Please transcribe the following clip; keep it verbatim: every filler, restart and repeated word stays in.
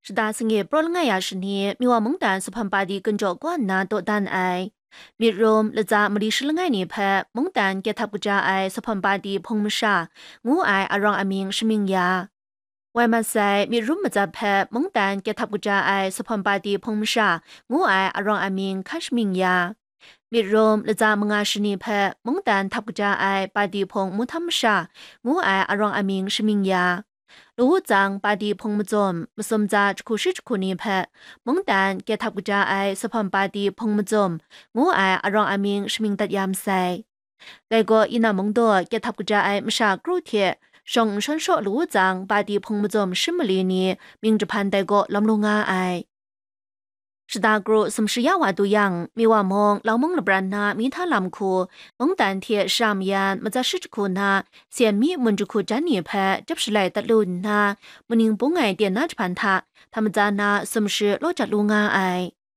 Shada sanit praw langai ya shani, Miwa mungdan Supham Padi gunjaw kaw nna dawdan ai. Myit rum, latsa mali shi langai ni hpe mungdan kehthap kaja ai Supham Padi hpung masha ngu ai arawng amying shamying ya. Wai mat sai, myit rum matsat hpe mungdan kehthap kaja ai Supham Padi hpung masha ngu ai arawng amying hkan shamying ya. Myit rum, latsa manga shani hpe mungdan htap kaja ai Padi hpung muhtam masha ngu ai arawng amying shamying ya. Lawutsang Padi hpung mazum, masum tsa jahku shi jahku ni hpe mungdan kehthap kaja ai Supham Padi hpung mazum ngu ai arawng amying shamying dat ya masai. Dai gaw, Yina Mungdaw kehthap kaja ai masha kru hte shawng n shawn shaw lawutsang Padi hpung mazum shim mali ni mying jahpan dai gaw lawm lu nga ai. Shada kru sumshi ya wa du yang, Miwa mung, Laumung lapran na Mihta lam hku, mungdan hte shara mayan matsat shi jahku na, Sen Mi mun jahku jan ni hpe chyap shalai dat lu nna, muning bung ai ten na jahpan hta, hta matsa na sumshi law jat lu nga ai.